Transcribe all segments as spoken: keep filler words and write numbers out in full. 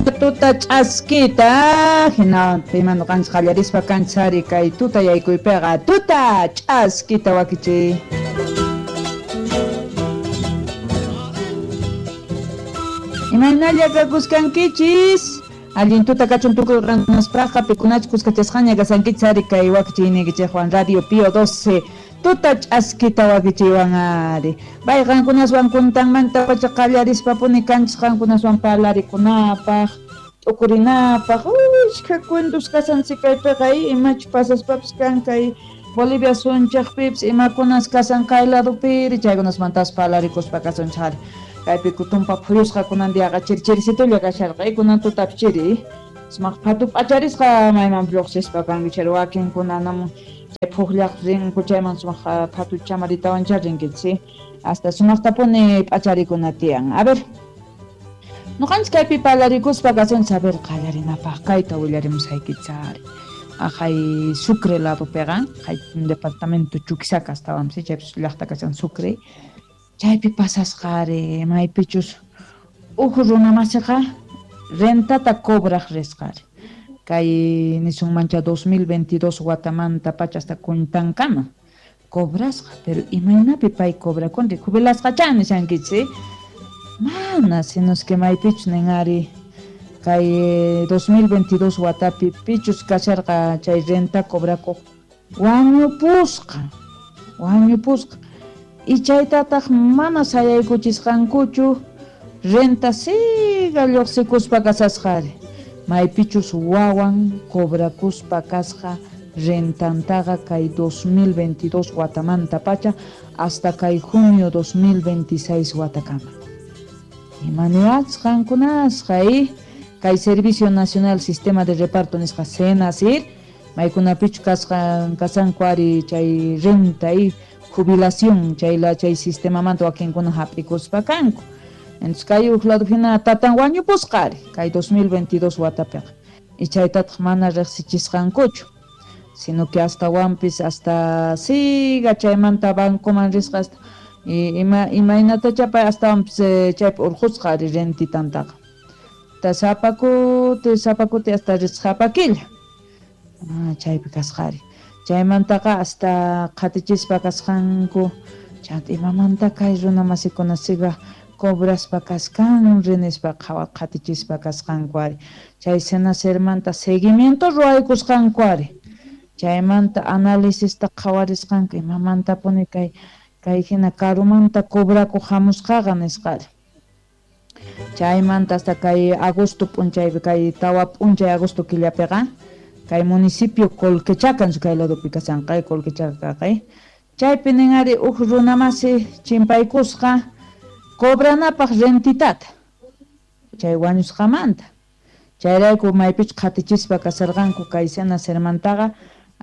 Tuta ch'askita hina noqanchis qallarispa kanchari kay tuta yaykuypiqa tuta ch'askita wakichiy. Imaynalla kakuskankichis allin tuta kachun tukuy qankunaspaqa pikunachus kuskachasqaña kasankichis ari kay wakichiyniykichikwan Radio Pío doce tuta ch'askita wakichiywan ari. Bay qankunaswan kuntanmanta pacha qallarispapuni kanchis qankunaswan parlarikunapaq t'ukurinapaq ushkha cuentos kasanchik kaypiqa imachu pasaspapis kan kay Bolivia sunchaqpipis imakunas kasan kay ladupiri chaykunasmantas parlarikuspa kasunchik ari. Kaypi kutumpa phuyusqa kunan diaqa chiri chirisitulla kasharqa kunan tutapi chiri sumaq phatu p'acharisqa mayman lluqsispa kankichik wakinkunanamun chay phuqllaq rinku chayman sumaq phatu chamaritawancha rinkichik hasta sumaqtapuni p'acharikuna tiyan. A ver, noqanchik kaypi parlarikuspa kasunchik a ver qallarinapaq kayta willarimusaykichik ari. Ajay Sucre ladopiqa hay departamento Chuquisaca astawanpis chaypis llaqta kashan Sucre. Chaypi pasasqa ari maypichus uj runamasiqa rentata cobraq risqa ari. Kay nisunmancha dos mil veintidós watamanta pacha hasta kuntankama cobrasqa, pero imaynapi pay cobrakunri jubilasqachá nishankichik mana sino es que maypichus nin ari kay dos mil veintidós watapi pichus kasharqa chay renta cobrakuq wañupusqa wañupusqa y chaytataq mana sayaykuchisqankuchu renta siga lluqsikuspa kasasqa ari maypichus wawan cobrakuspa kasqa rentantaqa kay dos mil veintidós watamanta pacha hasta kay junio dos mil veintiséis watakama. Imaniwachis qankunasqa y kay Servicio Nacional Sistema de Reparto nisqa SENASIR maykunapichu kasqa kasanku ari chay renta y jubilación chay la chay sistemamanta wakinkuna hap'ikuspa kanku. Entonces kay uj lado hina tatan wañupusqa ari kay dos mil veintidós watapiqa y chaytataq mana riqsichisqankuchu sino que hasta wampis hasta siga chaymanta bancoman risqa hasta y ima imaynatacha pay astawanpis chaypi urqusqa ari rentitantaqa ta sapa kuti sapa kuti hasta risqa sapa killa ah, chaypi kasqa ari. Chaymantaqa hasta qhatichispa kasqanku chanta imamanta kay runa masikuna siga cobraspa kasqan rinispa qhawa qhatichispa kasqanku ari. Chay SENASIRmanta seguimiento ruwaykusqanku ari. Chaymanta análisista qhawarisqanku imamantapuni kay kay hina karumanta cobrakuq hamusqaqa nisqa ari. Chaymanta hasta kay agosto p'unchaypi kay tawa p'unchay agosto killapiqa kay municipio Colquechaca kay ladopi kasanqa Colquechaca kay chaypi nin ari uj runamasi chimpaykusqa cobranapaq rentitata chay wañusqamanta chayrayku maypichu qhatichispa kasarqanku kay SENASIRmantaqa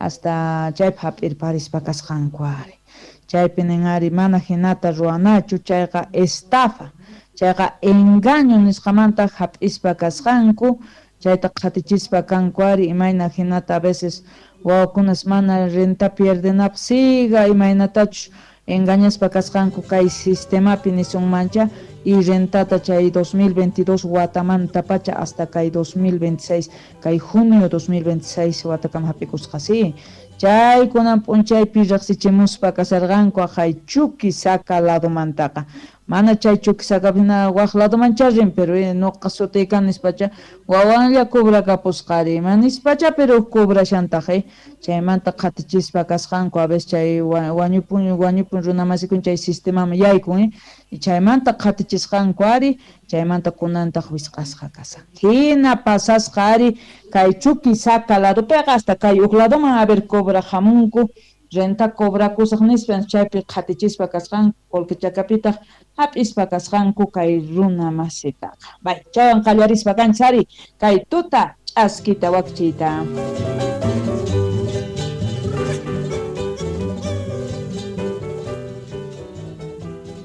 hasta chaypi hap'irparispa kasqanku ari. Chaypi nin ari mana hinata ruwanachu chayqa estafa chayqa engaño nisqamanta hap'ispa kasqanku chayta qhatichispa kanku ari imayna hinata a veces wawakunas mana renta pierdenapaq siga imaynatachus engañaspa kasqanku kay sistemapi nisunmancha y rentata chay dos mil veintidós watamanta pacha hasta kay dos mil veintiséis kay junio dos mil veintiséis watakama hap'ikusqa si. Chay kunan p'unchaypi riqsichimuspa kasarqanku ajay Chuquisaca ladomantaqa mana chay Chuquisaca hina waq ladomancha rin pero noqa sutiykan nispacha wawanlla cobrakapusqa ari ima nispacha pero cobrashantaq chaymanta qhatichispa kasqanku a veces chay wañupun wañupun runamasikun chay sistemaman yaykun y chaymanta qhatichisqanku ari chaymanta kunantaq wisq'asqa kasan hina pasasqa ari kay Chuquisaca ladopiqa hasta kay uj ladoman a ver cobra hamunku renta cobrakusaq nispa chaypi qhatichispa kasqanku Colquechacapitaq hap'ispa kasqanku kay runa masitaqa. Bay chaywan qallarispa kanchis ari kay tuta ch'askita wakichiyta.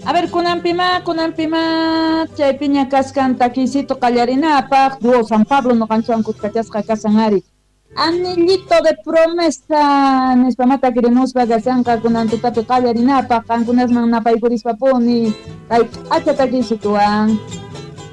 A ver, kunanpima, kunanpima, chaypiña kaskan takisito qallarinapaq, dúo San Pablo noqanchwan kuskachasqa kasan ari. Anillito de promesa nispa mata querimuspa kasanqa kunan tutapi qallarinapaq, qankunasman napaykurispa puni, kay p'acha takisituwan.